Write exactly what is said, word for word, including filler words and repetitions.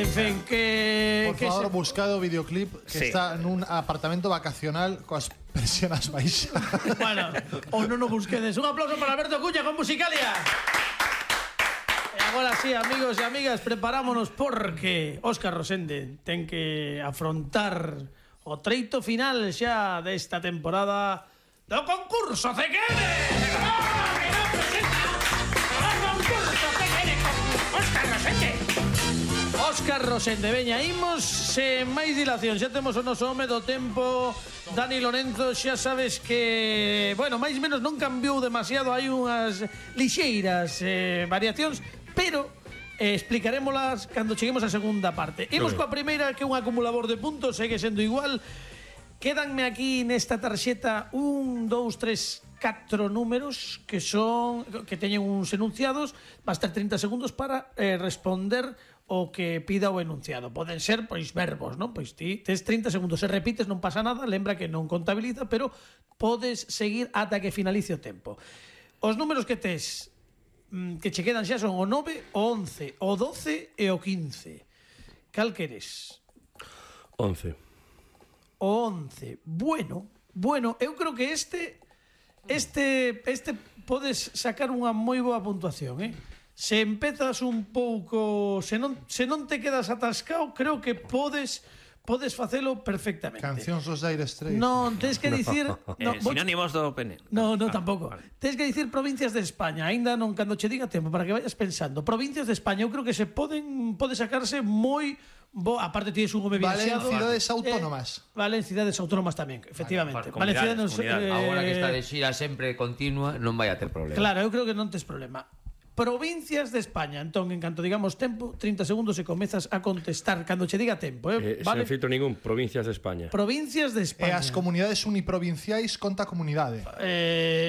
En fin, que... Por que favor, se... buscado o videoclip que Sí. está nun apartamento vacacional coas persianas baixas. Bueno, ou non o busquedes. Un aplauso para Alberto Cuña con Musicalia. E agora sí, amigos e amigas, preparámonos porque Óscar Rosende ten que afrontar o treito final xa desta temporada do concurso C Q N. Óscar Rosende. Óscar Rosende, veña, imos sen máis dilación. Xa temos o noso home do tempo, Dani Lorenzo. Xa sabes que, bueno, máis ou menos non cambiou demasiado. Hai unhas lixeiras eh, variacións, pero eh, explicarémolas cando cheguemos á segunda parte. Imos coa primeira, que é un acumulador de puntos, segue sendo igual. Quédanme aquí nesta tarxeta un, dous, tres, catro números que son que teñen uns enunciados. Vas ter trinta segundos para eh, responder o que pida o enunciado. Poden ser, pois, verbos, non? Pois ti tes trinta segundos. Se repites non pasa nada, lembra que non contabiliza, pero podes seguir ata que finalice o tempo. Os números que tes que che quedan xa son o nove, o once, o doce e o quince. Cal queres? once. O once. Bueno, bueno, eu creo que este este este podes sacar unha moi boa puntuación, eh? Se empezas un pouco, se non se non te quedas atascado, creo que podes podes facelo perfectamente. Cancións dos Dire Straits. Non, tens que dicir, no, Eh, vou- sinónimos do pene. No, no, tampouco. Tens que dicir provincias de España, aínda non cando che diga tempo para que vayas pensando. Provincias de España, eu creo que se poden pode sacarse moi bo, aparte tienes un home Vale, en viaxado. cidades autónomas. Eh, vale, en cidades autónomas tamén, efectivamente. Vale, Vale, cidades, comunidades, comunidades. eh, Agora que está de xira sempre continua, non vai a ter problema. Claro, eu creo que non tes problema. Provincias de España, entón, en canto digamos tempo, trinta segundos e comezas a contestar cando che diga tempo, eh? Eh, Vale? Sen filtro ningún, provincias de España. Provincias de E España. as comunidades uniprovinciais conta comunidade. Eh,